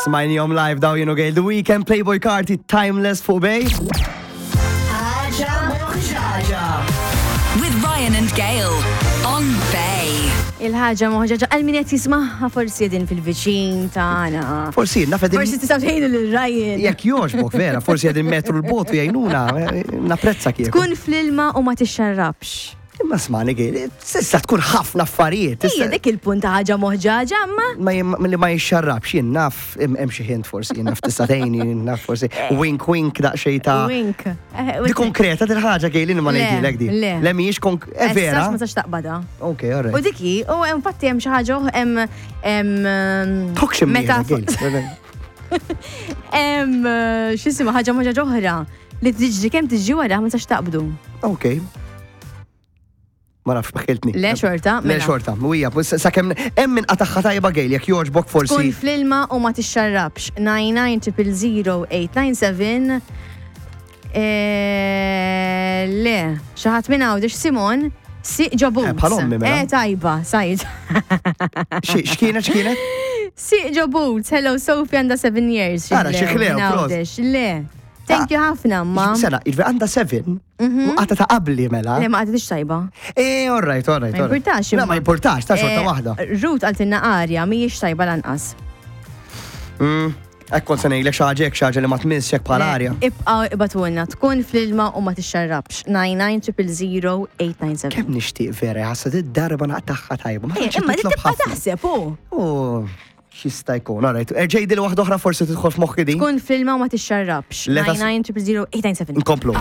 Smajnihom live daw jienu Gail The Weeknd, Playboy Carti, Timeless fuq Bay. Ħaġa moħġaġa. With Ryan and Gail on Bay. Il-ħaġa moħġaġa għal min qed jismaħħa forsi din fil-viċin tagħna. Forsi naf qegħdin- Forsi tistgħu tgħinu lil Ryan. Jekk jogħġbok vera, forsi qegħdin metru l-bot u jgħinuna, napprezza kieku. Tkun fl-ilma u ma tixxarrabx. Imma smani Gail, s'issa tkun ħafna affarijiet. Ija dik il-punt ta' ħaġa moħġaġa, imma. Ma li ma jixxarrabx, jien naf, hemm xi hint forsi, jien naf tista' tgħinni, jien naf forsi wink wink daqsxejn ta' Wink. Di konkreta dil ħaġa Gail, ma Le, ngħidilek di. le. Le mhijiex konk. Eh, vera. Ma tistax taqbadha. Ok, all right. U diki, u infatti hemm xi ħaġa hemm hemm Tokx meta Gail. hemm x'isima ħaġa moħġaġa oħra li tiġri kemm tiġri wara ma tistax taqbdu. Ok. Ma nafx bħiltni. Le xorta, Le mela. xorta, u hija, sakemm hemm min qataħħa tajba Gail, jekk jogħġbok forsi. Tkun fl-ilma u ma tixxarrabx. 99 Eh, Le, xi ħadd minn Għawdex Simon siq ġo boots. Eh, bħal ommi, mela. Eh, tajba, sajd. X'kienet, x'kienet? Siq ġo boots, hello Sophie għandha 7 years. Ara, xi ħlew, minn prost. Għawdex. Le. Thank you ħafna, ma. Sena, jiġifieri għandha 7 u qata ta' qabli mela. Le, ma qatitx tajba. Eh, all right, all right. Ma all right. jimpurtax. Le, ma jimpurtax, ta' xorta Eh, waħda. Ruth għaltinna arja, mhijiex tajba lanqas. Hekk kont se ngħidlek xi ħaġa hekk xi ħaġa li ma tmissx hekk bħal arja. Ibqa' ibatulna, tkun fl-ilma u ma tixxarrabx. 99 897. Kemm nixtieq vera, ħassa darba naqtaħħa tajba. Ma Eh, tantx Imma li titlob tibqa' ħafna. taħseb u. U x'jista' jkun, all right. Erġej dil waħda oħra forsi tidħol f'moħħi din. Tkun fl-ilma u ma tixxarrabx. Let us- 99 897. Nkomplu.